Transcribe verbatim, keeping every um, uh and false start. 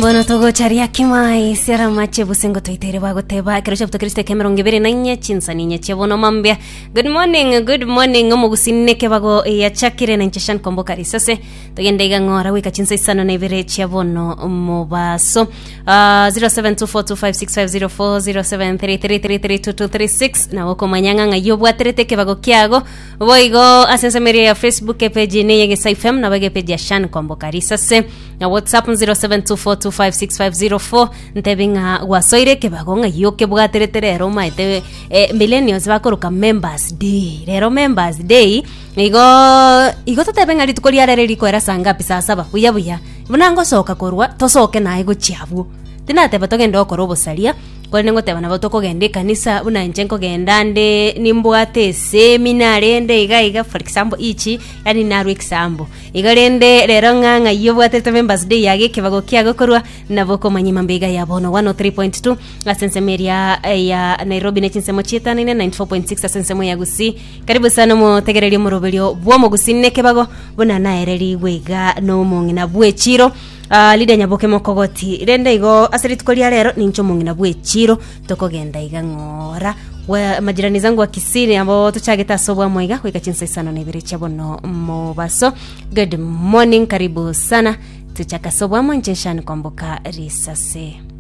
Mbono togocharia kimai siara mache busengo toitere bagoteba ekero chabuto kristo emirongo ibere na inye chinsani inye chiabono mambia. Good morning, good morning. Omogusii kebago yachakire na inche Kwamboka Risase. Togende iga ng'ora goika chinsa isano na ibere chiabono mobaso. uh, zero seven two four two five six five zero four, zero seven three three three three two two three six. Nabo okomanya ng'a ng'ai obwaterete ekebago kiago. Boigo ase ensemeria ya Facebook epage ne Yegesa F M, nabo epage ya Shan Kwamboka Risase, na WhatsApp zero seven two four two five six five zero four. Ntebi ng'a gwasoire ekebago, ng'ai okebwaterete rero. Omaete eh, millennials bakoroka Members Day rero. Members Day igo igo totebe ng'a rituko ria rero rikoera saa ngapi? Saa saba buya buya buna ngosoka korwa tosoke naye gochia abwo. Tinateba togende gokora obosaria, korende ngoteba nabo tokogenda ekanisa buna inche nkogenda nde nimbwate esemina rende iga iga. For example ichi, yani narwa example igo rende rero ng'a ng'ai obwatete Members Day yage ekebago kiago korwa. Nabo okomanya mambega ya bono one oh three point two ase ensemo eria ya Nairobi ne chinsemo chietanaine, ninety-four point six ase ensemo ya Gusii. Karibu sana omotegereria omoroberio bwa omogusii nekebago buna naererigwe iga nomong'ina bwechiro uh, Lydia Nyaboke Mokogoti. Rende igo ase rituko ria rero ninche omong'ina bwechiro tokogenda iga ng'ora we majirani zangu wa Kisii abo tuchagete ase obwamo iga goika chinsa isano na ibere chia bono mobaso. Good morning, karibu sana, tuchaka ase obwamo. Nche Shani Kwamboka Risase.